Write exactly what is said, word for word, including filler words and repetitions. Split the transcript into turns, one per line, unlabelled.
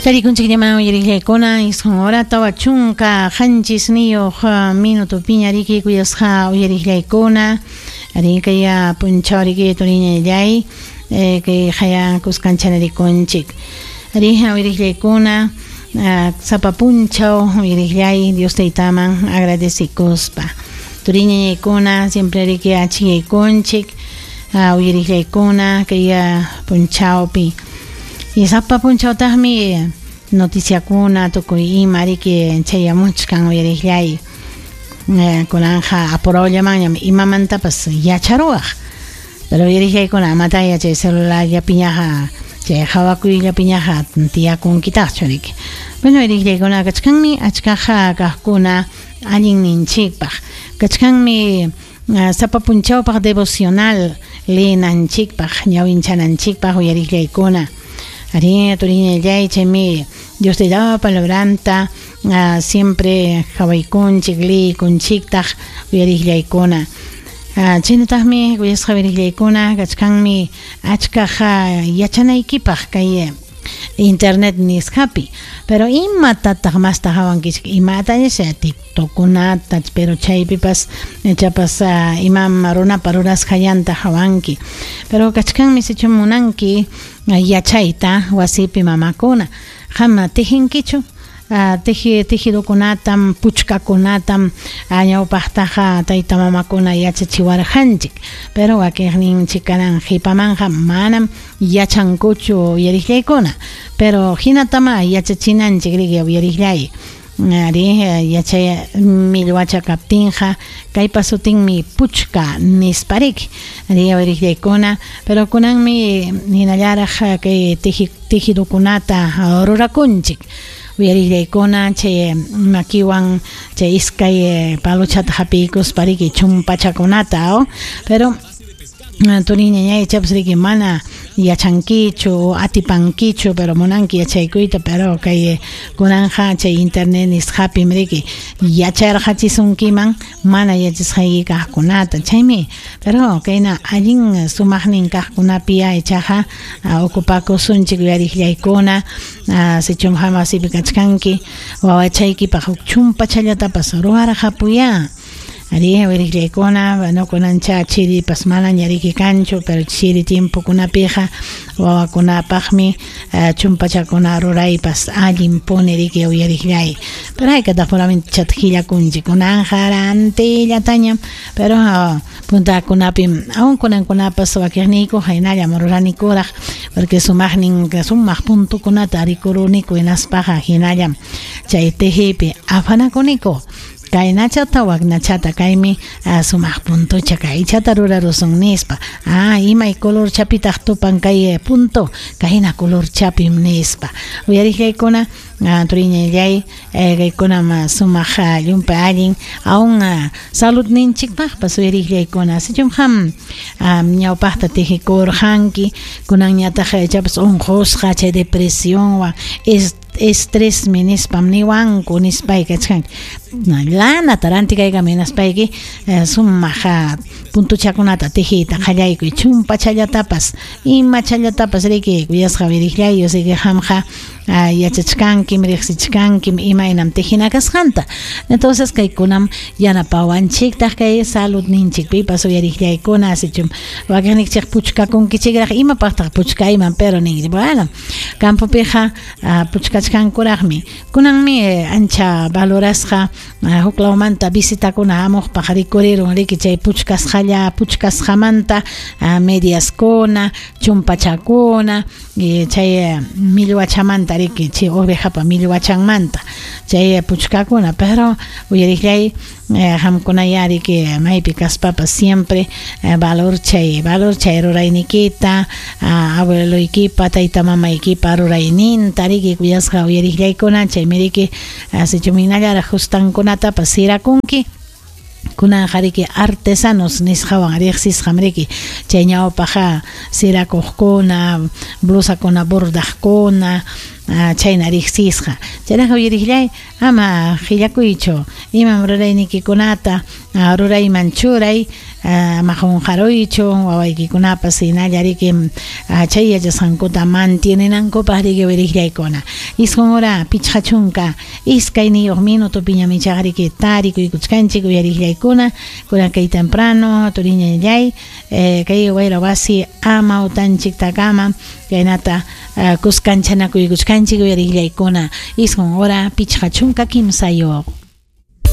Tarikunchikllaman uyariqllaykuna isqun hora tawa chunka qanchis niyuq minutupiña riki kuyasqa uyariqllaykuna rikaya punchaw riki turiñallay kay haya kuskanchana rikunchik rija uyariqllaykuna sapa punchaw uyariqllay Dios taytaman agradecikuspa turiñallaykuna siempre riki achiyaykunchik uyariqllaykuna kay punchawpi y sapa punchawtaqmi noticiakuna tukuy ima riki chayamuchkan uyariqllay kunanja apurawllamanñam imamantapas yacharuwaq pero uyariqllaykuna amataya chay celularllapiñaqa chay hawakuyllapiñaqa tiyakunkitaqchu riki. Bueno, uyariqllaykuna kachkanmi achkaqa kaqkuna allinninchikpaq kachkanmi sapa punchawpaq devocional leenanchikpaq ñawinchananchikpaq uyariqllaykuna. Ari turiñallay chaymi Dios te daba palabranta uh, siempre hawaykunchik liykunchiktaq uyariqllaykuna. Uh, chaynataqmi kuyasqa uyariqllaykuna kachkanmi achkaqa yachanaykipaq kay internet nisqapi pero imatataq masta hawankichik imata nisha TikTokkunata pero chaypipas chapas uh, imam runapa rurasqallanta hawanki pero kachkanmi sichum munanki yachayta wasipi mamakuna qam tijinkichu uh, teji tejidokunatam puchkakunatam ñawpaqtaqa tayta mamakuna yachachiwarqanchik pero wakiqninchik kanan qhipamanqa manam yachankuchu uyariqllaykuna pero hinatama yachachinanchik riki uyariqllay ari yachay millwacha kaptinqa kaypa sutinmi puchka nispariki ari uyariqllaykuna pero kunanmi hinallaraq kay teji tejidokunata rurakunchik uyariqllaykuna chay makiwan chay iskay palochata hapiykuspa riki chumpachakunata o pero turiñañay chapas riki mana yachankichu atipankichu pero munanki yachaykuyta pero kay kunanja chay internet nisqapim riki yacharqachisunkiman mana yachasqayki kaqkunata chaymi pero kayna allin sumaqnin kaqkunapi ichaqa ocupakusunchik uyariqllaykuna sichum wasipi kachkanki wawachaykipaq huk chumpachallatapas ruwarqapuya. Ari uyariqllaykuna bueno kunancha chiripas manaña riki kanchu pero chiri tiempokunapiqa wawakunapaqmi chumpachakuna ruraypas allinpuni riki uyariqllay pero haykataq puramente chataq qillakunchik kunanja rantillatañam pero puntakunapim aun kunankunapas wakiqniyku haynallam ruranikuraq porque sumaqnin sumaq puntukunata rikuruniku hinaspaqa hinallam chay tejipi afanakuniku kaynachata waknachata kaymi uh, sumaq puntucha kaychata rurarusun nispa ah imay color chapitaq tupan kay punto kayna color chapim nispa uyariqllaykuna uh, turiñallay eh, kaykunam sumaq uh, llumpay allin aun uh, saludninchikpaqpas uyariqllaykuna sichum qam um, ñawpaqta tijikurqanki kunanñataq ichapas unqusqa chay depresionwan estresmi nispam niwanku nispay kachkanki lanata rantikaykamuy hinaspayki sumaq puntuchakunata tijiyta qallaykuy chumpachallatapas imachallatapas riki kuyasqa uyariqllay yosiki qamqa yachachkankim riqsichkankim imaynam tijina kasqanta entonces kaykunam yanapawanchiktaq kay saludninchikpipas uyariqllaykuna sichum wakiqninchik puchkakunkichikraq imapaqtaq puchkayman pero ninki bueno campopiqa puchkachkankuraqmi kunanmi ancha valorasqa huk lawmanta visitakuna hamuqpaq rikurirun riki chay puchkasqalla puchkasqamanta mediaskuna chumpachakuna chay millwachamanta riki chay ovejapa millwachanmanta chay puchkakuna pero uyariqllay qamkunaya riki maypi kaspapas siempre valor chay valor chay ruraynikita abueloykipa tayta mamaykipa rurayninta riki kuyasqa uyariqllaykuna chaymi riki sichum hinallaraq hustankunatapas sirakunki kunanja riki artesanos nisqawan riqsisqam riki chay ñawpaqa sirakuqkuna blusakuna bordaqkuna chayna riqsisqa. Chaynaqa uyariqllay ama qillakuychu, imam ruraynikikunata rurayman churay, ama qunqaruychu wawaykikunapas hinalla riki chay yachasqankuta mantienenankupaq riki uyariqllaykuna. Isqun hora pichqa chunka iskayniyuq minutopiñam ichaqa riki tarikuykuchkanchik uyariqllaykuna, kunan kay temprano turiñallay kay wayra wasi amawtanchiktakama chaynata kuskanchanakuykuchkanchik uyariqllaykuna. Isqun hora pichqa chunka kimsayuq.